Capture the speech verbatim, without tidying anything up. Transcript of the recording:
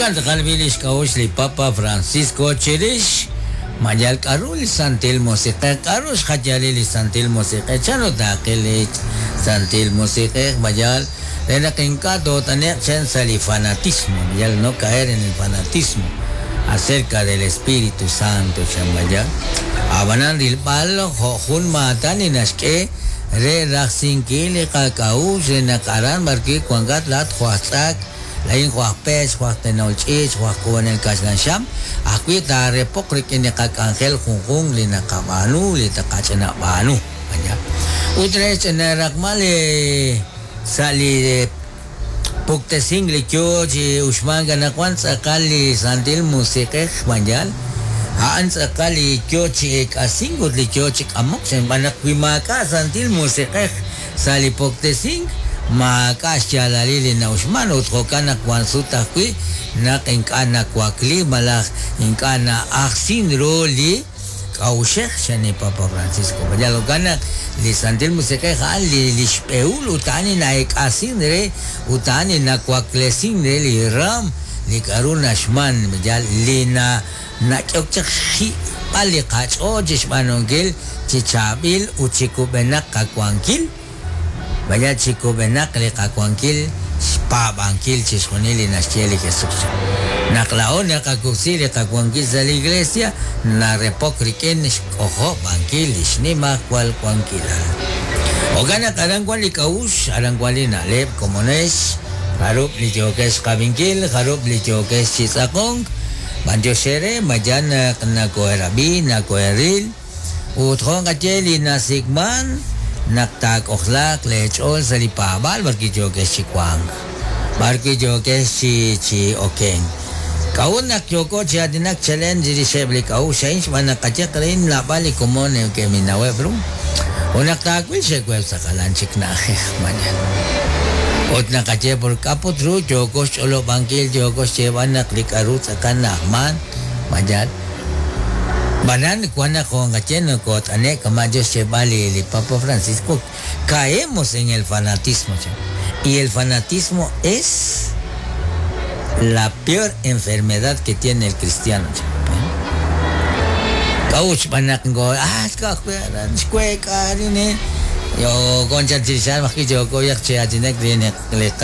Jo'kan tz'aqal b'i li xk'a'uxl li Papa Francisco chirix ma yal k'aru li Santil Musiq'ej, k'aru xjayalil li Santil Musiq'ej, chanru taaqil li Santil Musiq'ej, ma yal re naq ink'a' toot'ane'q chan sa' li fanatismo, ma yal no caer en el fanatismo acerca del Espíritu Santo chan ma yal. Ab'anan rilb'al jo' jun maatan li naxk'e re rajsinkil li qak'a'uxl re naq aran b'arwi' wankat laat jo' aj tz'ak, laa'in jo' aj peech, jo' aj tenol ch'iich', jo' aj k'uub'anel kaxlan xam, ajwi' taarepoq rik'in li qak'anjel junjunq li naqab'aanu, li taqach'inab'aanu. Ut re xch'inaraqmal sa' li puktesink li yo chi uxmank anaqwan tz'aqal li Santil Musiq'ej mayal, a'an tz'aqal li yo chi eek'asink ut li yo chi k'amok xb'aan naq wi maak'a' Santil Musiq'ej sa' li puktesink maak'a' xyaalalil li na'uxman ut jo'kan naq wan sut ajwi' naq ink'a' nawakli malaj ink'a' na'ajsin ru li k'a'uxej chan li Papa Francisco. Mayal jo'kan naq li Santil Musiq'ej a'an li li xb'ehul ut a'an li na'eek'asin re ut a'an li nawaklesin re li ram li k'aru naxman mayal li na nak'ehok chaq xji'b'al li qach'ool chi xb'aanunkil chi chaab'il ut chi kub'enaq qawankil vaya chi kub'enaq li qawankil xpaab'ankil chixjunil li naxye li Jesús. Naq laa'o naqakub'si li qawankil sa' li iglesia narepok rik'in xk'ojob'ankil li xnimajwal wankilal. Jo'kan naq aran wan li k'a'uxl, aran wan li na'leb' komonex, jarub' li yookex xqab'inkil, jarub' li yookex chi tz'aqonk, b'antiox eere mayan naq nakoherab'i, nakoheril, ut jo' nqaye li nasik'man naq taak'ojlaaq leech'ool sa' li paab'aal b'arwi' yookex chi wank, b'arwi' yookex chi chi okenk. K'a'ut naq yooko chi aatinak chalen chirixeb' li k'a'uxl a'in xb'aan naq qayaq rein naab'al li komon neke'minaweb' ru. Ut naq taawil xe'web' sa' jalan chik na'ajej mañana. Ut naqaye por k'aput ru yooko xch'olob'ankil yooko xyeeb'al naq li k'aru tz'aqal na'ajman mayal. Banan wan naq jo' nqaye nokot'ane' kama' yo xyeeb'al li li Papa Francisco, caemos en el fanatismo. Y el fanatismo es la peor enfermedad que tiene el cristiano. K'a'ut xb'aan naq ngo ah xkuek'a rin yo concha chirixal majki yooko yaq chi aatinak li li